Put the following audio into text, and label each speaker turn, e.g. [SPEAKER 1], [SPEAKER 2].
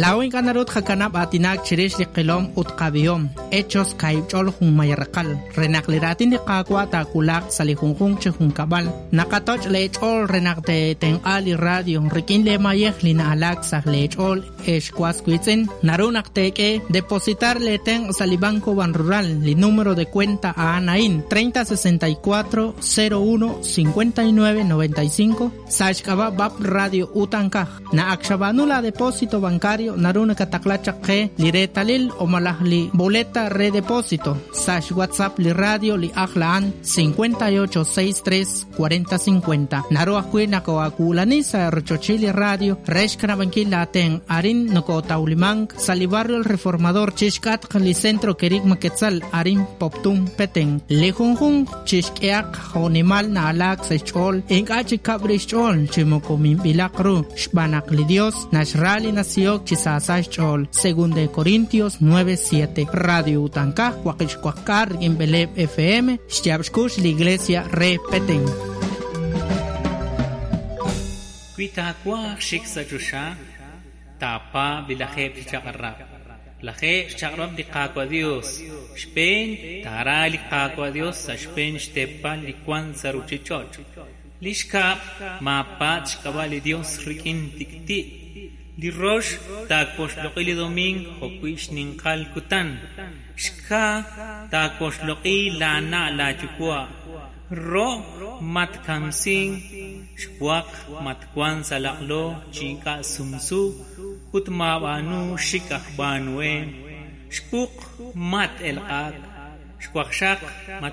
[SPEAKER 1] Laa'o ink'a' naru tqakanab' aatinak chirix li qilom ut qab'ihom, Hechos kaahib' ch'ol junmay raqal, re naq li raatin li Qaawa' taawulaq sa' li junjunq chi junkab'al. Naqatoch' leech'ool re naq teetenq'a li radio rik'in leemayej li na'alaak sa' leech'ool ex was wiitz'in. Naru naq teek'e depositar leetenq' sa' li Banco Banrural, li número de cuenta a'an a'in 3064 01 59 95 sa' xk'ab'a' BAP Radio Utankaj. Naq ak xab'aanu la depósito bancario naru nakataqla chaq qe li reetalil o malaj li boleta re depósito sa' xWhatsApp li radio li ajl a'an 58 63 40 50. Naru ajwi' nakoo'aawulani sa' rochochil li radio re xkanab'ankil laatenq' arin nokootawlimank sa' li barrio El Reformador chixk'atq li Centro Kerigma Quetzal arin Poptún Petén. Li junjunq chixk'ehaq jo'nimal na'alaak sa' xch'ool ink'a' chi kab' rix xch'ool chi moko minb'ilaq ru xb'aan naq li Dios naxra li nasihok chi saasa xch'ool. Segunda de Corintios 9:7. Radio Utankaj waqib' xwaqk'aal rik'in b'eleeb' FM xyaab' xkux li Iglesia re Petén.
[SPEAKER 2] Wi taawaj xik sa' choxa, taapaab' li lajeeb' chi chaq'rab'. Lajeeb' xchaq'rab' li Qaawa' Dios. Xb'een, taara li Qaawa' Dios sa' xb'een xteepal li wank sa' ruuchich'och'. Li xkab', maapatz' xk'ab'a' li Dios rik'in tik'ti'. Li rox, taawoxloq'i li domingo jo'wi' xninqal kutan. Xkaa, taawoxloq'i laana' laayuwa'. Ro', matkamsink. Xwaq, matwank sa' laq'lo chi ink'a' sumsu ut maab'aanu xik aj b'aanuhem. Xwuq, mat-elq'ak. Xwaqxaq, mat.